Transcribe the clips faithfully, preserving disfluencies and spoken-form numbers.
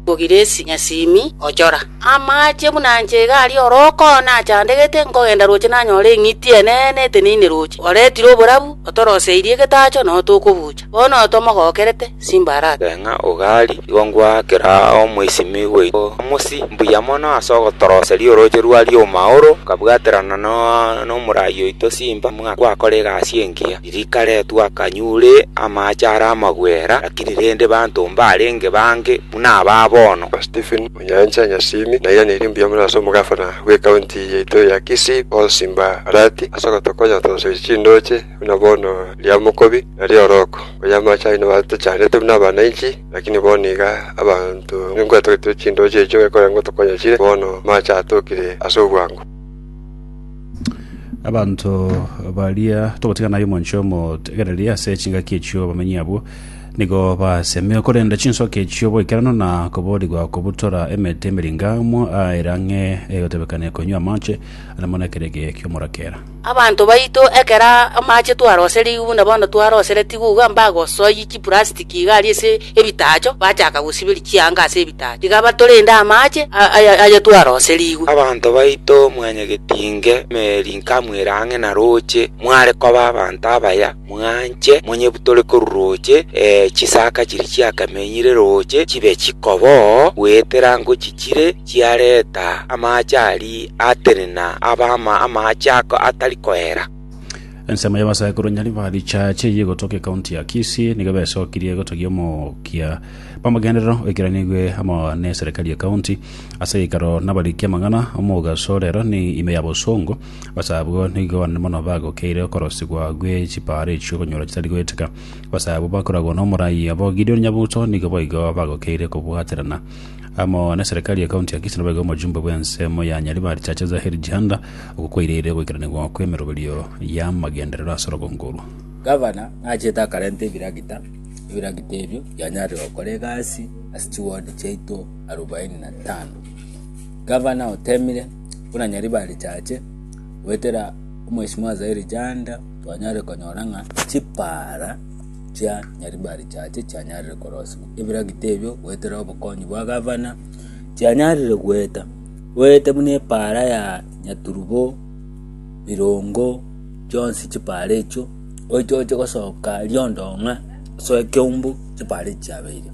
Bogiresi Nyasimi Ochora amache buna nche iga aria oroko nachandegete nkogenda roche nanyora eng'iti enene eteneine roche oretire oborabu otoroseirie egetacho noo tokobucha bono tomogokerete Simba Arati. Ng'a ogari igo ngwakera omoisimi goito mosi mbuya mono ase ogotoroseria oroche rwari omaoro kabwaterana no nomorai oito Simba mwakora egasi engiya rikaretwa akanyure amache ara amagwera lakini rende banto mbarenge bange buna aba bono. Stephen Onyancha Nyasimi nairaneri mbuya mono ase omogafana bwe county yaito ya Kisii Paul Simba Arati ase ogotokonya gotoroseria chindoche buna bono ria Mokobi na ria Oroko konya amache aino batochanete buna abananchi lakini bono iga abanto nkwetogetire chindoche echio gekogera ngotokonya chire bono amache atokire ase obwango. Abanto baria togotigana naye omonche omotegereria ase chingaki echio bamenyi abwo nigo basemia korenda chinsoka echio boikerano na koborigwa kobutora emete emiringamu aerang'e egotebekana konywa amache amo na ekerege kiomorakera. Abanto baito ekera amache twaroserigwe buna bono twaroseretigwe iga mbagosoi chiplastiki iga aria ase ebitacho bachaka gosiberia chianga ase ebitacho tiga batorende amache aya twaroserigwe. Abanto baito mwanyagetinge merinkamwera ang'e na roche mware koba abanto abaya mwanche monyebutore koru roche eh, chisaka chiri chiakamenyire roche chibe chikobo gwetera ngochichire chiareta amache ari atenena aba amache ako atari koera. Ensemo y'abasae korwa Nyaribari Chache yegotoka ekaunti ya Kisii nigo besokirie gotogia omokia bamagenderero oikeranigwe amo na eserikali ya kaunti ase geikaro nabariki amang'ana omogaso rero ni ime ya Bosongo. Abasae abwo nigo banene mono bagokeire okorosigwa gwe chipara echio okonyora chitari goeteka. Abasae abwo bakoragwa na omorai abo Gideon Nyabuto nigo boigo bagokeire kobwaterana amo na serikali ya kaunti ya Kisii naboigo omojumbe bw'ensemo ya Nyaribari Chache Zahiri Jihanda okokwairire goikeranigwa kwa emeroberio ya magenderero ase orogongo orwo. Gavana nachete akarenta ebiragita ebiragita ebio byanyarire gokora egasi ase chiwodi chiaito arobaini na tano. Gavana otemire buna Nyaribari Chache gwetera omweshimiwa Zahiri Janda twanyarire konyora ng'a chipara chia Nyaribari Chache chianyarire korosigwa ebiragita ebio gwetera obokonyi bwa gavana chianyarire gweta gwete buna epara ya Nyaturubo Birongo chionsi chipara echio oichoche gosoka riondong'a soe Keumbu chipara echi chiabeire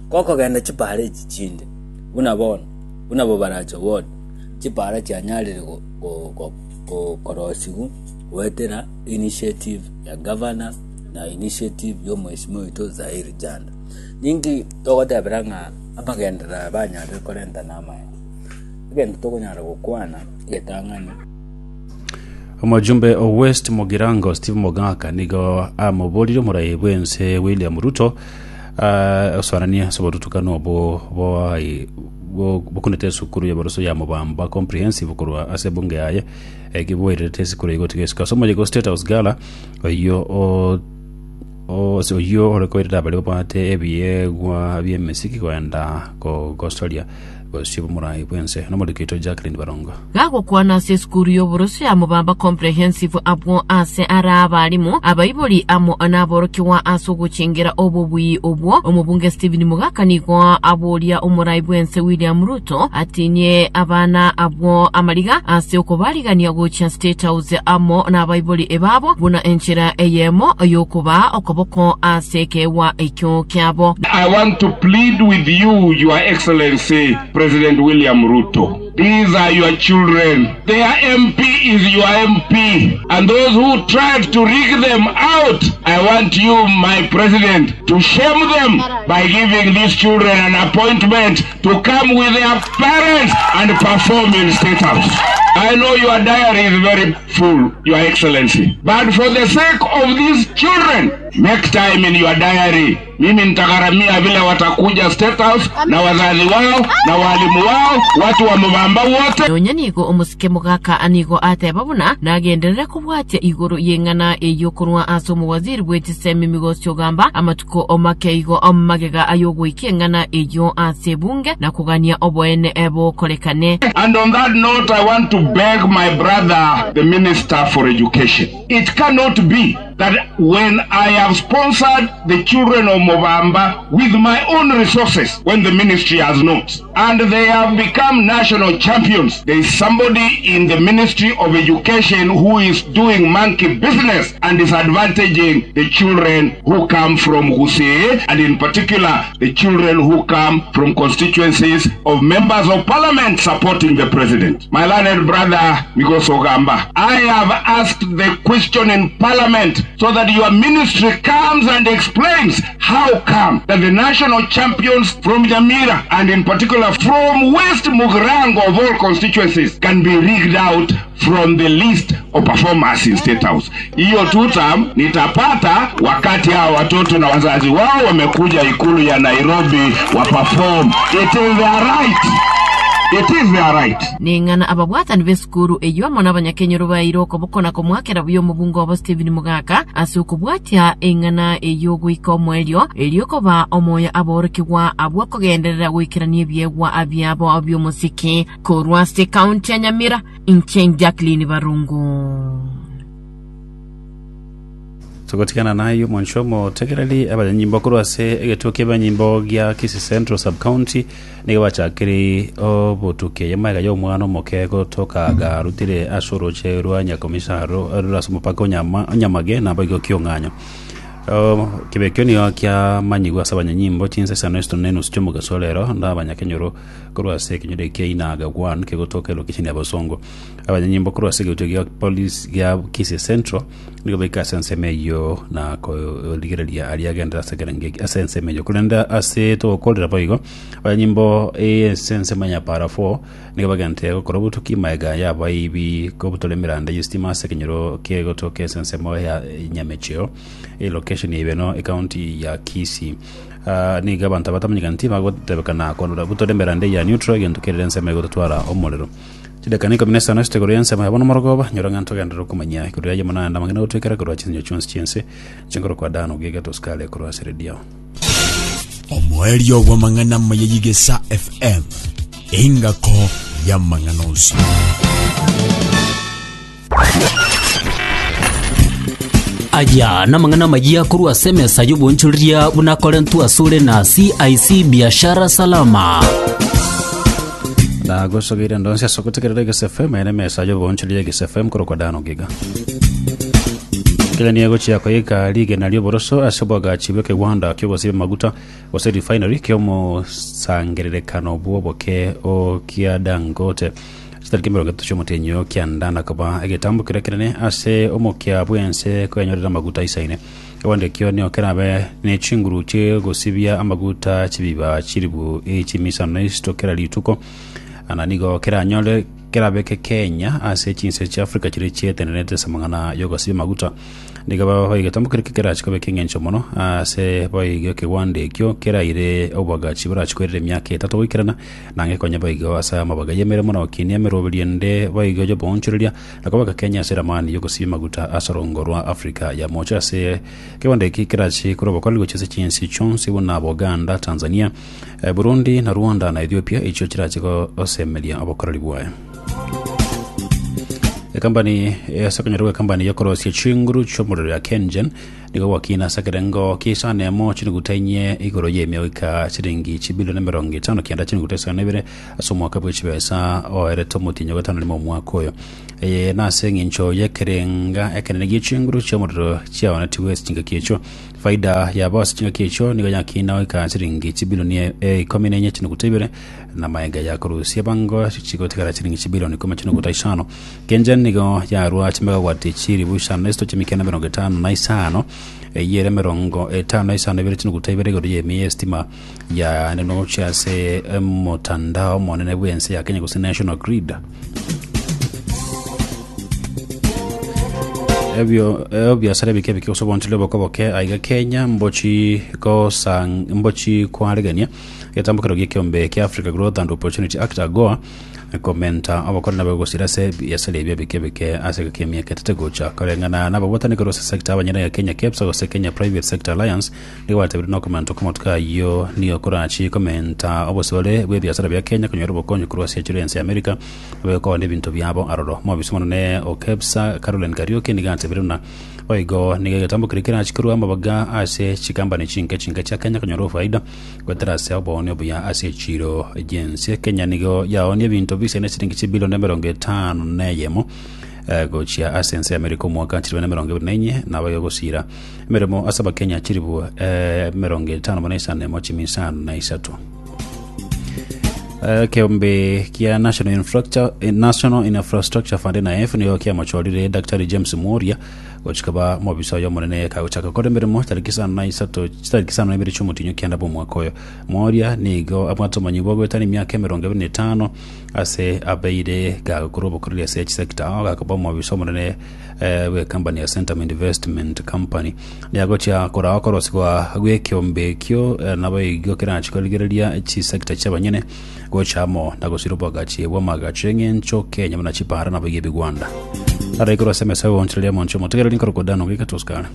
gokogenda chipara echi chinde buna bono buna Bobaracho ward chipara chianyarire korosigwa gwetera initiative ya gavana na initiative ya omweshimiwa oito Zahiri Janda. Ninki togotebera ng'a amagenderero banyarire korenta na amaya egento tokonyara gokwana egetang'ani. Omojumbe o West Mugirango Steve Mogaka nigo amoborire omorai bwense William Ruto uh, osoanania ase obotutukano obo bwai bokunete esukuru ya boroso ya Mobamba Comprehensive korwa ase ebunge yaye ekibwairete esukuru igotiga esiko ase omoyega o State House Gala oyio o ose oyio ore koirera baria babwate ebiegwa bi'emesiki koenda kogosoria gosio omorai bwense nomoriko oito Jacqueline Barongo. Gagokwana ase esukuru y'oboroso ya Mobamba Comprehensive abwo ase ara abarimu abaibori amo naborokiwa ase ogochengera obobui obwo omobunge Stephen Mugaka nigo aboria omorai bwense William Ruto atinie abana abwo amariga ase okobarigania gochia State House amo n'abaibori ebabo buna enchera eyemo yokuba okoboko ase ekewa ekio kiabo. I want to plead with you, Your Excellency, President William Ruto. These are your children. Their M P is your M P. And those who tried to rig them out, I want you, my president, to shame them by giving these children an appointment to come with their parents and perform in State House. I know your diary is very full, Your Excellency. But for the sake of these children, make time in your diary. Mimi nitagharamia vile watakuja State House na wazazi wao na walimu wao, watu wa Mubamba wote. Nonya nigo omusike Mugaka anigo ateba buna nagenderera kubwatia igoro yeng'ana eyo korwa ase omowaziri bw'echisemi Migosi Ogamba amatuko omake igo omagega ayogoikia eng'ana eyo ase ebunge na kogania oboene ebokorekane. And on that note, I want to beg my brother, the Minister for Education. It cannot be that when I have sponsored the children of Mobamba with my own resources, when the ministry has not, and they have become national champions, there is somebody in the Ministry of Education who is doing monkey business and disadvantaging the children who come from Gusii, and in particular the children who come from constituencies of members of parliament supporting the president. My learned brother Migoso Gamba, I have asked the question in parliament so that your ministry comes and explains how come that the national champions from Nyamira, and in particular from West Mugirango of all constituencies, can be rigged out from the list of performers in State House. Hiyo tutam nitapata wakati hao watoto na wazazi wao wamekuja ikulu ya Nairobi wa perform. It is their right. It is their right. Ning'ana ababwatani b'esukuru eywo amo n'abanyakenyoro baire okoboko komwakera buya omobungo obo Stephen Mugaka ase okobwatia eng'ana eywo goika omoerio erio koba omoyo aborokigwa abwo okogenderera goikerania ebiegwa abiabo by'omosiki korwa ase county ya Nyamira inche Jacqueline Barungu. Tugotigana nayo mwanchomo tegereri abanyimbo korwa ase egetuo kia abanyimbo gia Kisii Central Sub County nigo bachakire obotuke yamaega ya omwana omoke gotoka garutire ase oroche rwa nyakomisaro rurase omopaka onyama onyamage nabo igo kiong'anyo. Kibekio nigo kiamanyigwa ase abanyanyimbo chinsa isano isano na enusu chiomogaso rero na abanyakenyoro korwa ase ekenyoro kia Inaga one kegotoka elocation ya Bosongo. Abanyanyimbo korwa ase egetuo gia police gia Kisii Central nigo baika ase ensemo eywo na korigereria aria agendera ase ekerenge ase ensemo eywo korenda ase togokorera boigo abanyanyimbo ase ensemo ya para four nigo bagente gokora obotuki maega yabaibi kobutora emiranda ya estima ase ekenyoro kegotoka ase ensemo ya Nyamecheo elocation ibeno ecounty ya Kisii. Uh, niga abantu abatamanyikana bagotebekana konora butora emiranda ya neutral egento kerere ensemo egototwara omorero chidakika ikomi na isano chitegoro ensemo yabo nomorogoba nyora ng'a ntogenderera okomanya igoro yaye mono naende amang'ana gotwekera korwa chinsinyo chionsi chiense chinkoro kwa dano giga tosikare korwa ase redio. Omoerio bw'amang'ana mayeyigesa F M engako ya mang'ana onsi. Aya namang'ana mayia korwa ase emesa y'obonchoreria buna korentu asure na C I C Biashara Salama. Na gosogeire ndonsi ase ogotegerera Egesa F M ere emesa y'obonchoreria Egesa F M korwa kwa dano giga. Kenya nigo chiakoyeka rigena ri'oboroso ase obwagachi bw'ekegwanda ki'ogosiba amaguta gose refinery ki'omosangererekano bw'oboke o kia Dangote. Chitariki mirongo etato chi'omotenyo kiandana koba egetambo keria kenene ase omokia bwense koenyorera amaguta isaine. Ekewanda ekio nigo kerabe ne chinguru chi'ogosibia amaguta chibiba chiribu echimisano na isito kera rituko ana nigo keranyore kerabeke Kenya ase chinse chia Africa chiri chietenerete ase amang'ana y'ogosibia amaguta. Nigo boigo kere kerachikobeka eng'encho mono ase boigo ekewanda ekio keraire obwagachi borachikwerera emiaka etato goikerana nange konya boigo ase amabaga y'emeremo na gokinia emeroberio ende boigo y'oboonchoreria na kobeka Kenya ase eramani y'ogosibia amaguta ase orongo rwa Africa ya mocha ase ekewanda eki kerachi korwa obokoreri gochia ase chinsi chionsi buna Buganda, Tanzania, Burundi na Rwanda na Ethiopia echio chirachi gosemeria obokoreri bwaye. Ekampani esakanyoro ekampani yokorosia chinguru chi'omorero ya Kengen nigo gwakina ase ekerengo kiisana emo chinuguta inye igoro y'emioika chiringi chibilioni emerongo etano kianda chinuguta isano na ibere ase omwaka bwa chibesa oerete omotinyo gatano rimo omwaka oyo. Eye nase eng'encho y'ekerenga ekenene gia chinguru chi'omorero chiaonetiwe ase chingaki echio. Faida yabo ase chingaki echio nigo yakina oika chiringi chibilioni ikomi na enye chinuguta ibere na maega ya korusia bango chigotigara chiringi chibilioni ikomi chinuguta isano. Kengen nigo yarwa chimegawati chiribu isano na isito chimikenda mirongo etano na isano eyere mirongo etano na isano ibere chinuguta ibere igoro y'emiya estima ya nenogochia ase omotandao omonene bwense ya Kenya gose National Grid. Ebyo ebiasara bike bike gose obonchore bokoboke aiga Kenya mbochi gosang mbochi kwaregania Getambukero gi'ekiombe kia Africa Growth and Opportunity Act AGOA komenta obokore nabe gosira ase ebiasara ebio bike bike ase egeka emiaka etete gocha koreng'ana nababwataniko rose sector abanyene ya Kenya KEPSA gose Kenya Private Sector Alliance nigo batebire na okomenta okomotuko ayio nigo korachi komenta obosibore bwa ebiasara bia Kenya konyora obokonyi korwa ase echiro ense ya America nabe ebinto biabo aroro mobisi monene o KEPSA Caroline Kariuki nigo atebire buna boigo nigo egetambukero kerachi korwa amabaga ase chikambani chinke chinke chia Kenya konyora ofaida gwetera ase obooni obuya ase echiro jensi Kenya nigo yaonia ebinto bisene siringi chibilioni emerongo etano na eyemo eh, gochia ase ense ya America omwaka chiribu na emerongo ebere na enye nabayo gosira emeremo ase abakenya chiribu eh, emerongo etano na isano emo chimi isano na isato. Eh, kiombe kia National Infrastructure, eh, National Infrastructure Fund N I F niyo kiamochorire Daktari James Muoria gochikaba mobisa oyo omonene kagochaka kora emeremo tariki isano na isato tariki isano na ibere chiomotinyo kianda bwa omwaka oyo. Muoria nigo abwate omonyi bwa goetana emiaka emerongo ebere na etano ase abeire gagokora obokoreri ase chisector ao gakoba omobisa omonene eh, bwa company ya Centum Investment Company niagochia korawa korosigwa gwa ekiombe ekio eh, nabo igo kerachi korigereria chisector chiabanyene gochamo na gosira obwagachi bwa amagacho eng'encho Kenya buna chipara nabo iga ebigwanda araikoro ase emesa gonchereria omonche omotegereri nkorokodano gika toskara.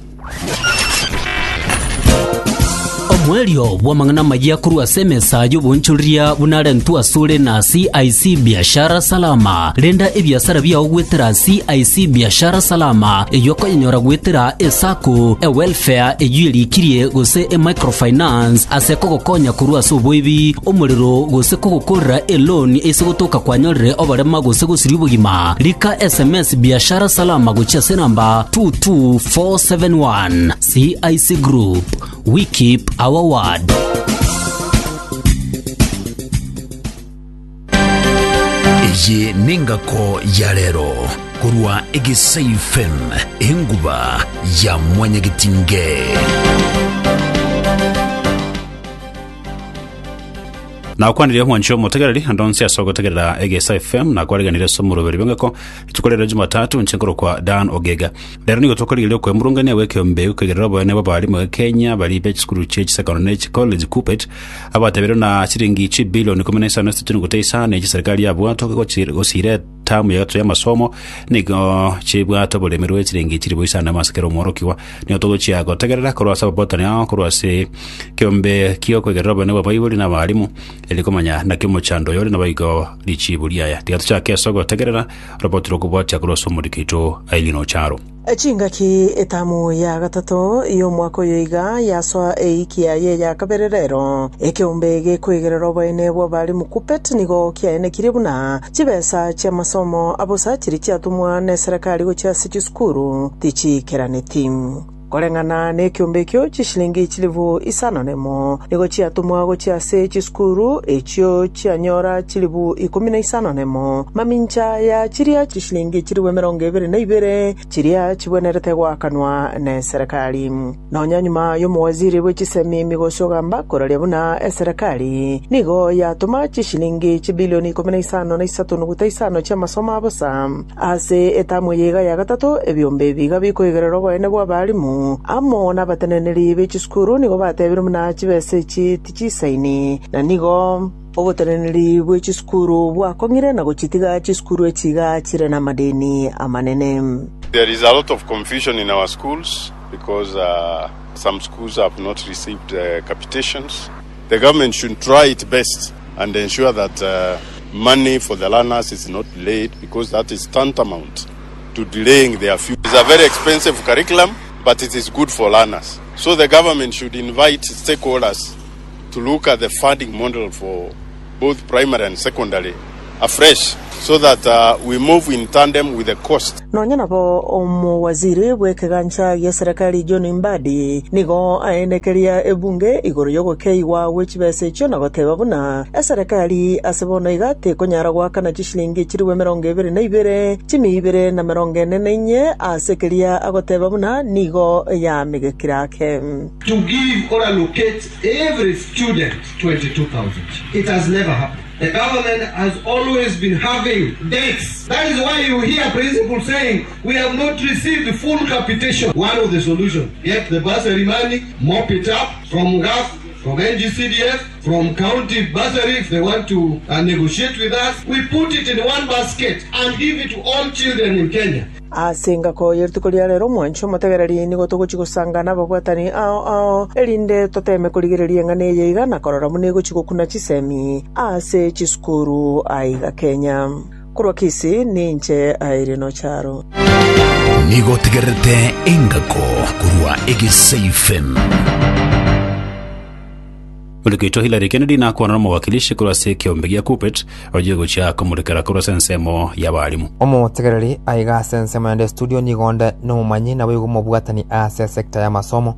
Omwerio bw'amang'ana amaya korwa ase emesa y'obonchoreria bunarentwa asore na C I C Biashara Salama. Renda ebiasara biao gwetera C I C Biashara Salama eyo okoyenyora gwetera esako ewelfare eyo erikirie gose emicrofinance ase kogokonya korwa ase oboibi omorero gose kogokorera eloni ase gotoka kwanyorire oborema gose gosiria obogima. Rika S M S Biashara Salama gochia ase namba two two four seven one. C I C Group, we keep our word. Eye nengako ya rero korwa Egesa F M, enguba ya mwanyagetinge. Na kwanirie mwancho omotegereri andonsi ase ogotegerera Egesa F M na kwariganire ase omoroberi bwengako itukorera Jumatatu nchenkoro kwa Dan Ogega. Rero nigo tokorigereria okwemurungania gwekiombe gokegerera oboene bwa abarimu ba Kenya bari be chisukuru chie chisecondary ne chicollege KUPPET abatebire na chiringi chibilioni ikumi na isano ase chinuguta isano echi serikali yabwate gosire tamu ya gatatu ya masomo nigo chibwate oboremi rwe chiringi chiribo isano amasekero omworokiwa. Nigo togochia gotegerera korwa ase ababotani ao korwa ase kiombe kiokwegerera oboene bwa baibori na abarimu eri komanya naki omochando oyo ore nabaigo richibu riaya. Tiga tochake ase ogotegerera roboti rokobwatia korwa ase omorikito Aileen Ocharo. Chingaki etamu ya gatato y'omwaka oyo iga yasoa eiki yaye ya kabere rero ekiombe gekwegerera oboene bwa barimu KUPPET nigo kiaenekire buna chibesa chia masomo abosa chiri chiatumwa na eserekari gochia ase chisukuru tichikeraneti koreng'ana na ekiombe ekio chishilingi chilibu isano nemo nigo chiatumwa gochia ase chisukuru echio chianyora chilibu ikumi na isano nemo mamincha ya chiria chishilingi chilibu emerongo ebere na ibere chiria chibwenerete gwakanwa na eserekari. Nonya nyuma y'omowaziri bwe chisemi Migosi Ogamba koraria buna eserekari nigo yatuma chishilingi chibilioni ikumi na isano na isato nuguta isano chia masomo abosa ase etamu yiga ya gatato ebiombe biga bikoigerera oboene bwa abarimu amo n'abateneneri b'echisukuru nigo batebire muna chibesa echi tichisaini na nigo oboteneneri bw'echisukuru bwakong'ire na gochitiga chisukuru echiga chire na madeni amanene. There is a lot of confusion in our schools because uh, some schools have not received uh, capitations. The government should try its best and ensure that uh, money for the learners is not delayed, because that is tantamount to delaying their future. It's a very expensive curriculum, but it is good for learners. So the government should invite stakeholders to look at the funding model for both primary and secondary afresh so that uh, we move in tandem with the cost. Nonya nabo omuwaziri bw'ekegancha gia serikali John Mbadi nigo aenekeria ebunge igoro y'ogokeiwa gwe chibesa echio na goteba buna eserekari ase bono iga tekonyara gwakana chishilingi chiriwe emerongo ebere na ibere chimi ibere na merongo ene na inye ase keria agoteba buna nigo yamigekire ake. To give or allocate every student twenty-two thousand. It has never happened. The government has always been having debts. That is why you hear principals saying, "We have not received the full capitation." One of the solutions, get the bursary money, mop it up from GAF. from N G C D F, from county bursary if they want to uh, negotiate with us. We put it in one basket and give it to all children in Kenya. Ase engako yerituko ria rero omwancho omotegereri nigo togochi gosanga na ababwatani ao ao erinde toteme korigereria eng'ana eye iga na korora buna egochi gokuna chisemi ase chisukuru aiga Kenya korwa Kisii ninche Irene Ocharo. Nigo tegerete engako korwa Egesa F M. Mulikito Hillary Kennedy nakwana na omowakilishi korwa ase ekiombe gia KUPPET oje gochia komurekera korwa ase ensemo ya abarimu. Omotegereri aiga ase ensemo yende studio nigonde nomomanyi nabo igo omobwatani ase sector ya masomo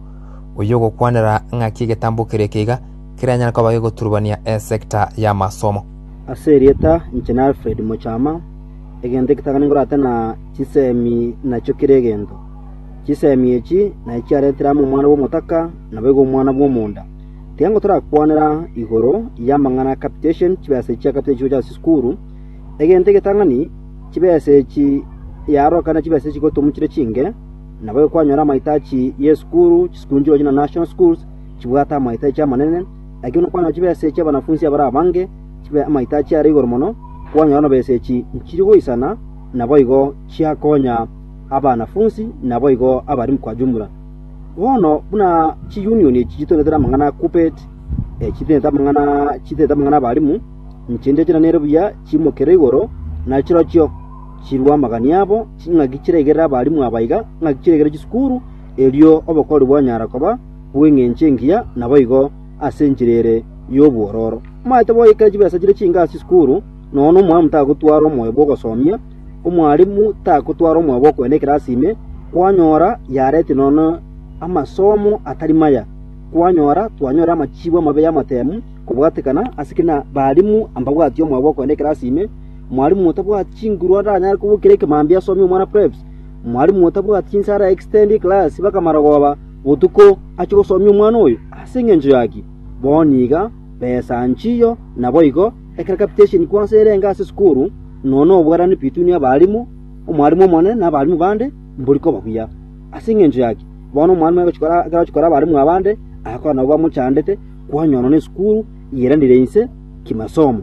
oyo ogokwanera ng'aki egetambo kere keiga kiranyara koba gegoturubania esector ya masomo. Ase erieta inche na Alfred Mochama egento ekitagani ngorate na chisemi nakio kere egento chisemi echi naye chiaretera amo omwana bwa omotaka nabo igo omwana bwa omonda tiga ngo torakwanera igoro ya amang'ana capitation chibesa chia capitation chia chisukuru egento egetang'ani chibesa echi yarokana chibesa echi gotomuchire chinge nabo kwanyora amahitaji ya esukuru chisukuru nchiro china national schools chibwate amahitaji amanene lakini kwanyora chibesa echi abanafunzi abara abange chibe amahitaji are igoro mono kwanyora na besa echi nchiri goisana nabo igo chiakonya abanafunzi nabo igo abarimu kwa jumla. Bono buna chiunion echi chitonetera amang'ana KUPPET eh, chitonete amang'ana chitete amang'ana abarimu nchinde chiranere buya chimokere igoro nachirochio chirwa amagani abo ching'aki chiregerera abarimu abaiga ng'aki chiregere chisukuru erio obokori bwanyara koba bweng'encho engiya nabo igo ase enchera ere y'obwororo maete boyekera chibesa chire chinga ase chisukuru nono omwalimu tagotwara omoyo bwa ogosomia omwalimu tagotwara omoyo bwa okoenda ekerasi ime kwanyora yareti nono amasomo atari maya kwanyora twanyora amachibu amabe y'amatemu kobwatekana ase kina barimu ambabwati omoyo bwa okoenda ekerasi ime mwalimu otabwati chinguru aranyare kobokera ekemambia asomia omwana preps mwalimu otabwati chinsara extend class bakamara botuko achi gosomia omwana oyo ase eng'encho yaki boniga besa nchiyo nabo igo ekero capitation kwansa erenga ase esukuru nono obwarani between abarimu omwarimu omonene na abarimu bande mbori koba buya ase eng'encho yaki bono omwarimu agochikora ekero achikora abarimu abande akora nabo bamochandete kwanyona na esukuru yeranire inse kimasomo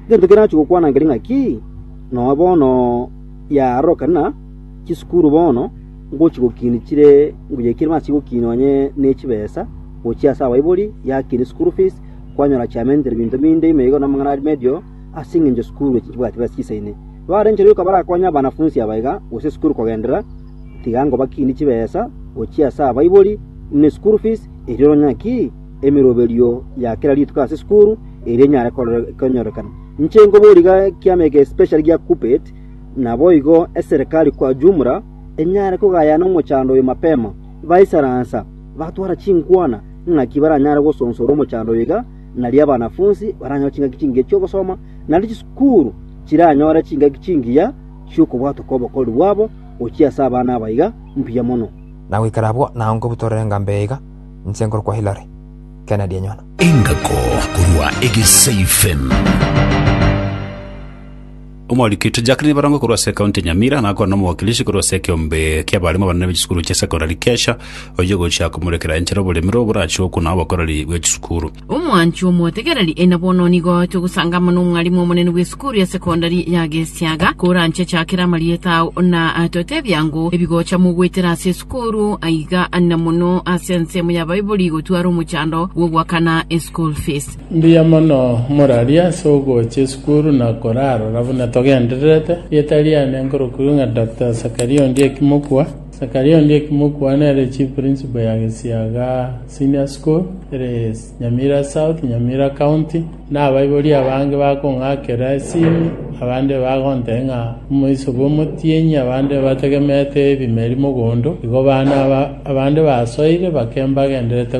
egento kere nachigokwana nkeri ng'aki no bono yarokana chisukuru bono ngochigokini chire nguyekire machigokini onye ne chibesa gochia ase abaibori yakini school fees kwanyora chiamentere binto binde ime igo namang'ana ari medio ase eng'encho sukuru echi chibwati besa chisaine barenche yoka barakonya abanafunzi abaiga gose esukuru kogendera tiga ngo bakini chibesa gochia ase abaibori ne school fees erio ng'aki emiroberio ya kera rituko ase esukuru erio enyare konyorekana nche ngoboriga kiameke special gia KUPPET nabo igo eserikali kwa jumla enyare kogayana omochando oyo mapema baisaransa batwara chinkwana ng'aki baranyare gosonsora omochando oyo iga nari abanafunzi baranyora chingaki chingiya chiogosoma nari chisukuru chiranyora chingaki chingiya chiokobwatoka obokori bwabo gochia ase abana abaiga mbuya mono. Na goikara abwo nago nkobutorere engambo iga inche nkorokwa Hillary Kennedy enyona. Engako korwa Egesa F M. Omwarikito Jacqueline Barongo korwa ase ekaunti ya Nyamira nakwana omowakilishi korwa ase ekiombe kia abarimu abanene b'echisukuru chia secondary Kesha oye gochia komurekera enchera oboremero borachi okuna obokoreri bwa chisukuru. Omwanchi omotegereri ena bono nigo togosangama na omwarimu omonene bwa esukuru ya sekondari ya Gesiaga koranche chakera amarieta ao na totebia ngo ebigocha mugwetera ase esukuru aiga na mono ase ensemo ya baibori gotwara omochando gwogwakana eschool fees. Mbuya mono moraria ase ogocha esukuru na korarora buna togendererete rieta riane nkorokuru ng'a Doctor Sakaria Ondieki Mokua. Sakaria Ondieki Mokua nere chief principal ya Gesiaga Senior School ere Nyamira South, Nyamira County na abaibori abange bakong'akera esimi abande bagonte ng'a omoiso bwa omotienyi abande bategemete ebimeri mogondo igo bana abande basoire bake mbagenderete.